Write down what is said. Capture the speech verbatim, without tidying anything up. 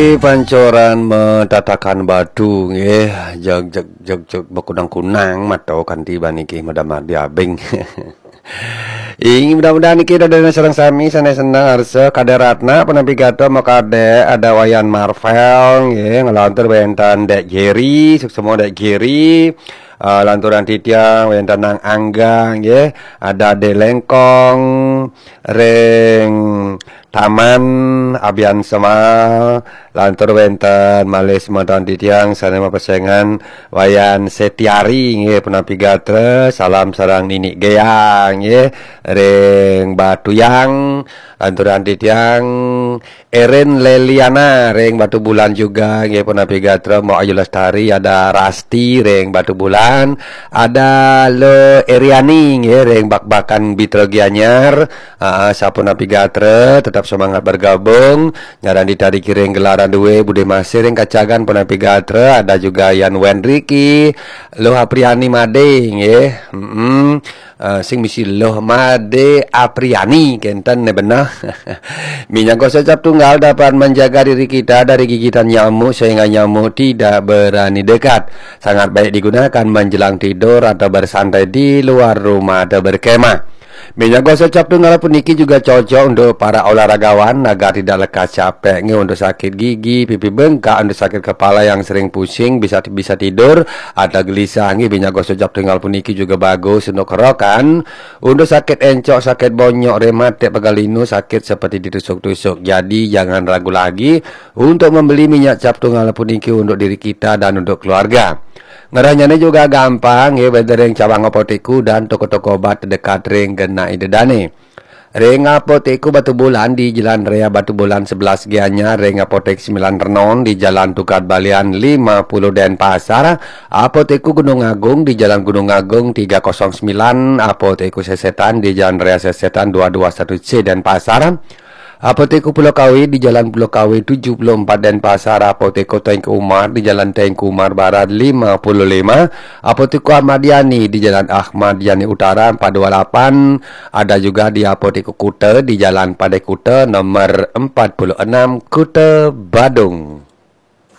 Pancoran matatakan batu nggih, jeg jeg jeg jeg, bakunang-kunang mato kanti baniki, madamar diabing. Ing mudah-mudahan niki dadosna sareng sami sané seneng arsa. Kadek Ratna punapi gatra, makadek ada Wayan Marvel nggih, nglantur wénten Dek Jerry, suksma Dek Jerry. Eh, lanturan titiang wénten Nang Angga nggih, ada Dek Lengkong, ring Taman Abian Semal, lantur wénten malih semeton titiang sané mapesengan Wayan Setiari nggih, punapi gatra, salam sareng Nini Gea nggih, ring Batuyang, lanturan titiang Erin Leliana ring Batubulan juga nggih, punapi gatra, Mbok Ayu Lestari, ada Rasti ring Batubulan, ada Lo Eriani nggih ring Bakbakan Bitra Gianyar. Ah, sapunapi gatra, tetap semangat bergabung. Ngaran di tadi kiring gelaran duwe, Bude Masih ring Kacagan punapi gatra, ada juga Yan Wendriki, Loh Apriani Made nggih. Mm-mm. Eh, sing misi Loh Made Apriani kenten né beneh. Minyak gosok cap tunggal dapat menjaga diri kita dari gigitan nyamuk sehingga nyamuk tidak berani dekat. Sangat baik digunakan menjelang tidur atau bersantai di luar rumah atau berkemah. Minyak gosok cap tunggal puniki juga cocok untuk para olahragawan agar tidak lekas capek nggih, untuk sakit gigi, pipi bengkak, untuk sakit kepala yang sering pusing, bisa bisa tidur atau gelisah nggih. Minyak gosok cap tunggal puniki juga bagus untuk kerokan, untuk sakit encok, sakit bonyok, rematik, pegal linu, sakit seperti ditusuk-tusuk. Jadi jangan ragu lagi untuk membeli minyak cap tunggal puniki untuk diri kita dan untuk keluarga. Ngerehnyané juga gampang nggih, wénten ring cabang apotek dan toko-toko obat terdekat ring genah ida dané. Ring Apotek Batubulan di Jalan Raya Batubulan sebelas Gianyar, ring Apotek Sembilan Renon di Jalan Tukad Balian lima puluh Denpasar, Apotek Gunung Agung di Jalan Gunung Agung tiga kosong sembilan, Apotek Sesetan di Jalan Raya Sesetan dua dua satu C Denpasar, Apotek Pulau Kawe di Jalan Pulau Kawe tujuh puluh empat Denpasar, Apotek Teuku Umar di Jalan Teuku Umar Barat lima puluh lima, Apotek Ahmad Yani di Jalan Ahmad Yani Utara empat dua lapan, ada juga di Apotek Kuta di Jalan Pantai Kuta nomor empat puluh enam, Kuta Badung.